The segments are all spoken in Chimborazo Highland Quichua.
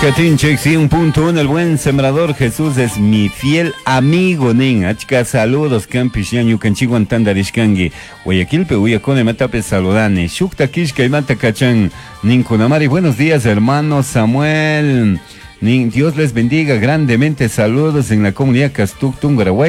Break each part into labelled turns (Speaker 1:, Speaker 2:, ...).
Speaker 1: Katinchik 100.1, el buen sembrador Jesús es mi fiel amigo nin. Achka saludos kanpish ña ñukanchikwan tandarishkanki. Guayaquilpi uyakuna imatapish saludani. Shukta killka imata kachan ninkunamari. Buenos días, hermano Samuel. Nin, Dios les bendiga grandemente. Saludos en la comunidad Castuc Tungurahua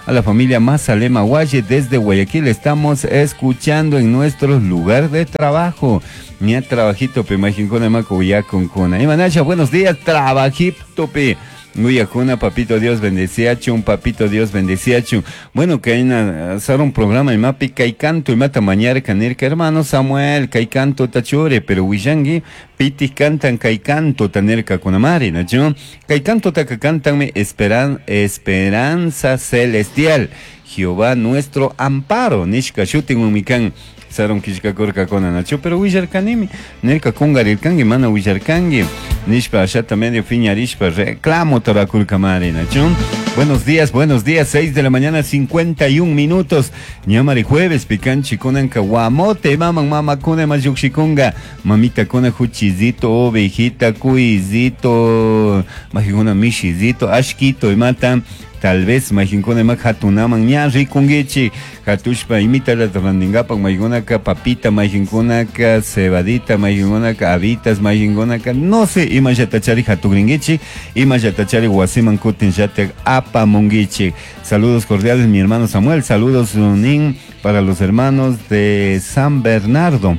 Speaker 1: a la familia Mazalema Guaye desde Guayaquil. Estamos escuchando en nuestro lugar de trabajo. Ña trabajito pe majinkuna maku uyakunkuna. Imanasha, buenos días, trabajito pe. Uyakuna, papito Dios bendeciachun, papito Dios bendeciachun. Bueno, kayna un programa imapi kay canto imata mañarka nirka hermano Samuel, kay canto tachure, pero willanki pitik cantan kay canto nirka kunamari, nachu? Kay canto taka cantanmi esperanza celestial. Jehová nuestro amparo, nishka shutin kan sarun killkakurkakuna nachu, pero willarkanimi nirka kungarirkanki mana willarkanki nishpa ashata medio piñarishpa reclamo torakurkamari nachu. Buenos días, 6 de la mañana 51 minutos. Ñamari jueves picanchi kunanka guamote maman mama kuna mayukshikunga mamita kuna juchizito ovejita cuizito majikuna mishizito ashkito imata. Tal vez majinkuna ima hatunaman ña rikunkichik hatushpa imitala randinkapak maykunaka papita mayjinkunaka cebadita mayjinkunaka habitas mayjinkunaka no sé imallatachari hatukrinkichik imallatachari wasiman kutin llatak apamunkichik. Saludos cordiales mi hermano Samuel, saludos nin para los hermanos de San Bernardo.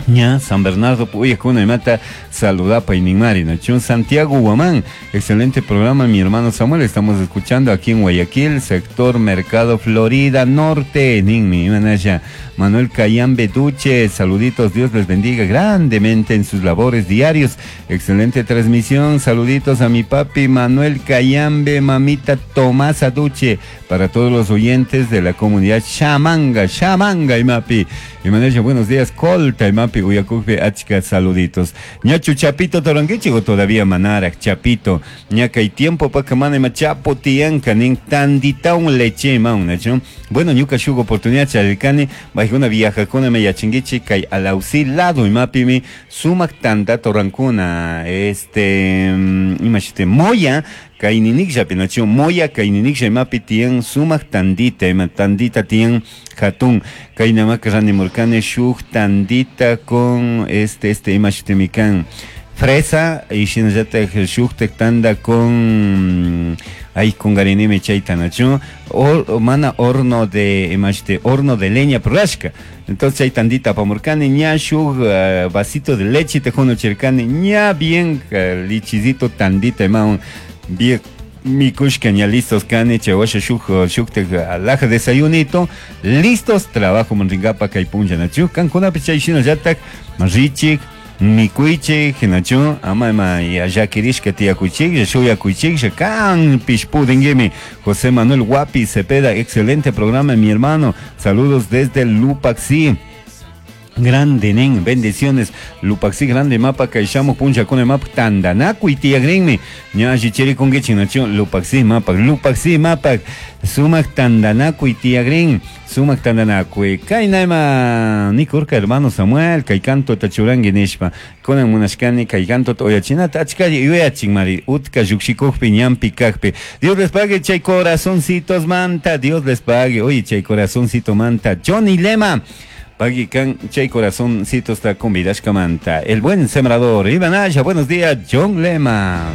Speaker 1: Ña, San Bernardo, puyakuna imata saludapa y ninmari, nachun Santiago Guamán, excelente programa mi hermano Samuel, estamos escuchando aquí en Guayaquil, sector Mercado Florida Norte, ninmi, imanaya, Manuel Cayambe Duche, saluditos, Dios les bendiga grandemente en sus labores diarios, excelente transmisión, saluditos a mi papi Manuel Cayambe, mamita Tomasa Duche, para todos los oyentes de la comunidad Chamanga, Chamanga y mapi, imanaya, buenos días, Colta y mapi, Uyakukpe, achka, saluditos. Ñachu Chapito toranguichigo todavía manarak, Chapito, ñaka y tiempo pa que mana ima chapo tianka, nin tandita un leche maun, nachu. Bueno, ñuka shugo oportunidad charirkani, bajuna viajakuna me yachinguichi, kay alausi lado imapimi, sumak tanda torankuna, imashite, moya, kayninikllapi, nachu, moya kayniniklla imapi tiyan sumak tandita, ima tandita tiyan hatun, kaynamaka ranimurkani shuk tandita con imashitimikan fresa y shinallatak shuktak tanda con ay con garinime chayta nachu, o mana horno de imashite, horno de leña prurashka. Entonces chay tandita apamurkani, ña shuk vasito de leche te jono chirkani, ña bien lichizito tandita imaun bien mikushka ña listos kani, chawasha shuk shuktak alaja desayunito, listos trabajo manringapa kay punlla nachu, kankunapi chay shinallatak richik mikuichik nachu, ama ima llakirishka tiyakuychik, shuyakuychik, kanpish pudinguimi. José Manuel Guapi Cepeda, excelente programa mi hermano, saludos desde Lupaxi. Grande nen, bendiciones. Lupaxi grande mapa kaishamo puncha con el mapa tandanaku y tiagrinmi. Ña chicheri con nacho Lupaxi mapa, Lupaxi mapa, sumak tandanaku y tiagrin, sumak tandanaku. Kainaima nikurka hermano Samuel, kay canto tachurangi nishpa. Konan munashkani kay canto oyachinata achkari yuyachin mari utka yukshikukpi ñampi kakpi. Dios les pague chay corazoncitos manta, Dios les pague. Oye chay corazoncito manta. Johnny Lema. Pagui kan chay corazoncito está con Vidashka Manta. El buen sembrador. Iván Aya, buenos días, John Lema.